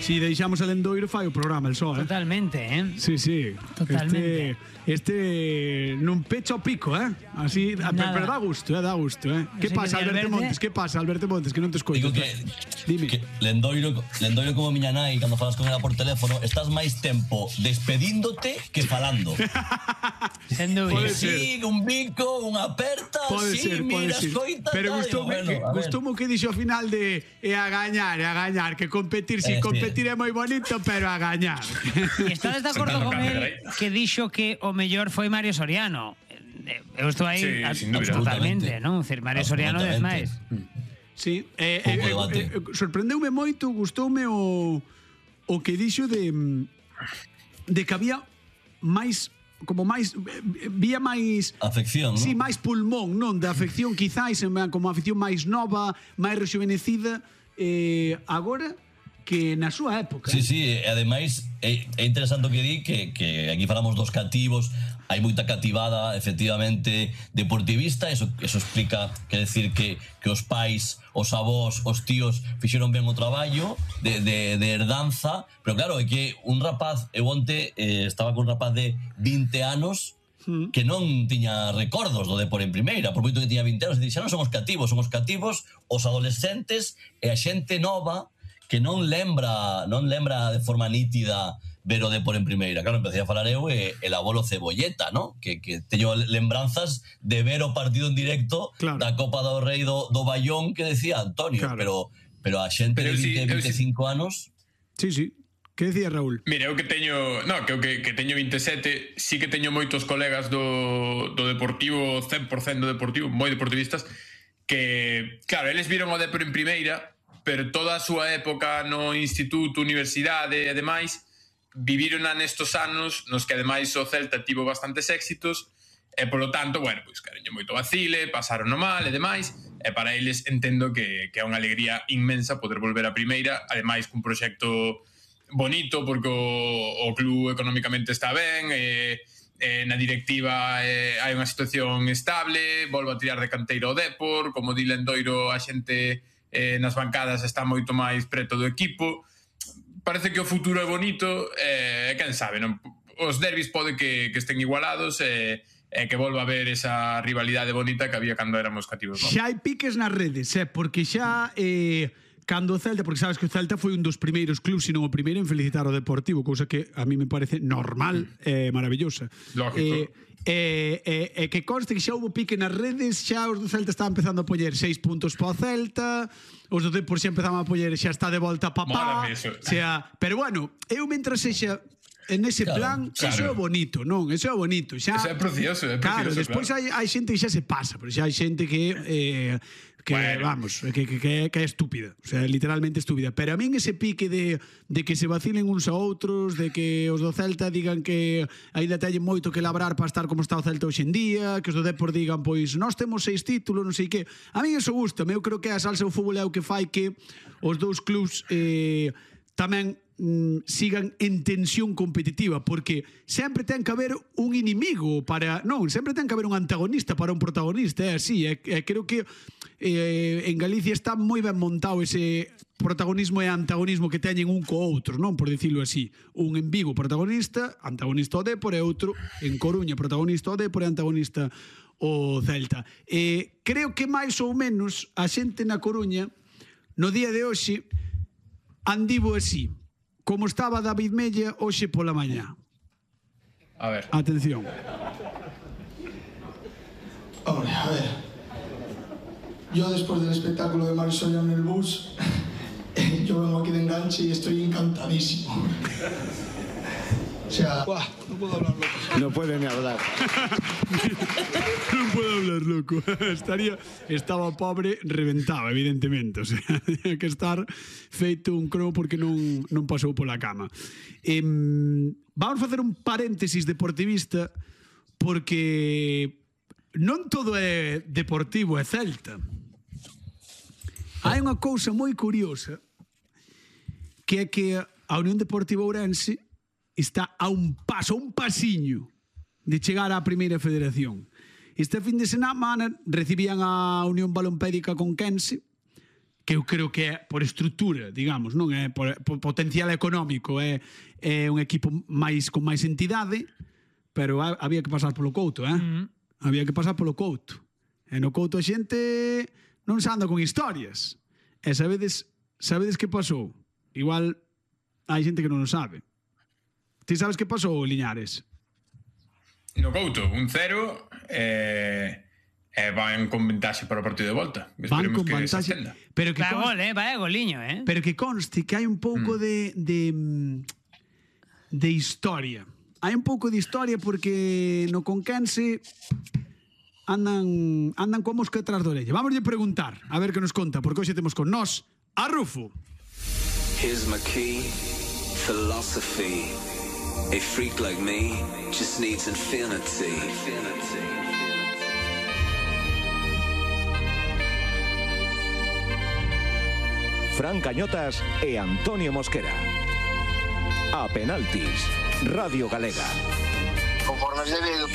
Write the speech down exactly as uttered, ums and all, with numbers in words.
Si deixamos el Lendoiro fai o programa el só, eh? Totalmente, eh? Sí, sí. Totalmente. Este, este non pecha o pico, eh? Así, pero, pero dá gusto, eh? Dá gusto, eh? Que pasa, Alberto Montes? Que pasa, Alberto Montes? Que non te escoito. Digo que, Dime. que Lendoiro, Lendoiro como miña nai, cando falas con ela por teléfono, estás máis tempo despedíndote que falando. Sen dúbida. Sí, un bico, unha aperta, Pode sí, ser, pode mira, ser. escoita. Pero tal, gustoume bueno, que, a ver. gustoume que dixo ao final de e a gañar, e a gañar, que competir, si Eh, sí. competir é moi bonito, pero a gañar. E estades de acordo con él que dixo que o mellor foi Mario Soriano? Eu estou aí Sí, a, sin dúbida. totalmente, non? Decir, Mario Soriano dez máis. Sí, eh, eh, eh, eh, sorprendeume moito, gustoume o o que dixo de de que había máis como máis vía máis afección, sí, ¿no? máis pulmón, non, da afección quizás como afección máis nova, máis rejuvenecida eh, agora que na súa época. Sí, sí, e ademais é, é interesante o que di que, que aquí falamos dos cativos, hai moita cativada efectivamente deportivista, eso, eso explica, quer decir que, que os pais, os avós, os tíos fixeron ben o traballo de, de, de herdanza, pero claro, é que un rapaz, eu onte eh, estaba con un rapaz de vinte anos que non tiña recordos do Depor en primeira, por moito que tiña vinte anos, e xa non somos cativos, somos cativos os adolescentes e a xente nova que non lembra, non lembra de forma nítida ver o Depor en primeira. Claro, empecé a falar eu e el abuelo Cebolleta, ¿no? Que, que teño lembranzas de ver o partido en directo claro. da Copa do Rei do, do Bayón que decía Antonio, claro. pero pero a xente pero de vinte, sí, veinticinco sí. anos... Sí, sí. Que decía Raúl? Mira, eu que teño, no, que eu que, que teño vinte e sete, sí que teño moitos colegas do, do Deportivo, cen por cento do Deportivo, moi deportivistas, que, claro, eles viron o Depor en primeira, pero toda a súa época no instituto, universidade e demais viviron nestos anos nos que ademais o Celta tivo bastantes éxitos e polo tanto, bueno, pois cariño moito vacile, pasaron no mal e demais, e para eles entendo que, que é unha alegría inmensa poder volver a primeira, ademais cun proxecto bonito porque o, o club económicamente está ben e, e na directiva e, hai unha situación estable, volvo a tirar de canteiro o Depor, como di Lendoiro a xente eh, nas bancadas está moito máis preto do equipo, parece que o futuro é bonito e eh, quen sabe, non? Os derbis pode que, que estén igualados e eh, que volva a haber esa rivalidade bonita que había cando éramos cativos. Xa hai piques nas redes, eh, porque xa eh, cando o Celta, porque sabes que o Celta foi un dos primeiros clubs, sino o primeiro en felicitar o Deportivo, cousa que a mí me parece normal e eh, maravillosa. Lógico. Eh, E, e, e que conste que xa houve pique nas redes, xa os do Celta estaban empezando a poñer seis puntos para o Celta, os do Depor xa empezaban a poñer xa está de volta papá, xa, pero bueno, eu mentras sexa en ese claro, plan, claro. Eso é bonito, non? Eso é bonito. Xa, eso é precioso, é precioso. Claro, despois claro. hai, hai xente que xa se pasa, pero xa hai xente que eh, que, bueno. vamos, que, que, que, que é estúpida, o sea, literalmente estúpida. Pero a min ese pique de, de que se vacilen uns a outros, de que os do Celta digan que ainda teñen moito que labrar para estar como está o Celta hoxe en día, que os do Depor digan, pois, nós temos seis títulos, non sei que. A min eso gusta, eu creo que a salsa do fútbol é o que fai que os dous clubs eh, tamén mm, sigan en tensión competitiva, porque sempre ten que haber un inimigo para, non, sempre ten que haber un antagonista para un protagonista, é así, e, e creo que eh, en Galicia está moi ben montado ese protagonismo e antagonismo que teñen un co outro, non, por dicilo así, un en Vigo protagonista, antagonista o Depor, e outro en Coruña protagonista o Depor e antagonista o Celta. E creo que máis ou menos a xente na Coruña no día de hoxe andivo así, como estaba David Mella hoxe pola mañá. A ver. Atención. Hombre, a ver. Yo después del espectáculo de Mario Soriano en el bus, yo vengo aquí de enganche y estoy encantadísimo. O sea... Buah, no puedo hablar loco. No puede ni hablar. Non puedo hablar, loco. Estaría, estaba pobre, reventado, evidentemente. O sea, tenía que estar feito un cromo porque non, non pasou pola cama. Eh, vamos facer un paréntesis deportivista porque non todo é deportivo e Celta. Hai unha cousa moi curiosa que é que a Unión Deportiva Ourense está a un paso, a un pasiño de chegar á primeira federación. Este fin de semana recibían a Unión Balompédica Conquense, que eu creo que é por estrutura, digamos, non é por, por potencial económico, é, é un equipo máis con máis entidade, pero ha, había que pasar polo Couto, eh? Mm. Había que pasar polo Couto. E no Couto a xente non se anda con historias. E sabedes, sabedes que pasou? Igual hai xente que non o sabe. Ti sabes que pasou, Liñares? No Couto, un cero e... Eh, van con ventaxe para o partido de volta. Van con ventaxe. Pero que va conste, gol, eh? Va goliño, eh? Pero que conste que hai un pouco mm. de, de de historia. Hai un pouco de historia porque no Conquense andan andan coa mosca detrás da orella. Vamos a preguntar, a ver que nos conta, porque hoxe temos con nós a Rufo. Here's my key, philosophy. A freak like me just needs infinity. Infinity. Fran Cañotas e Antonio Mosquera. A penaltis, Radio Galega. Conforme es debido.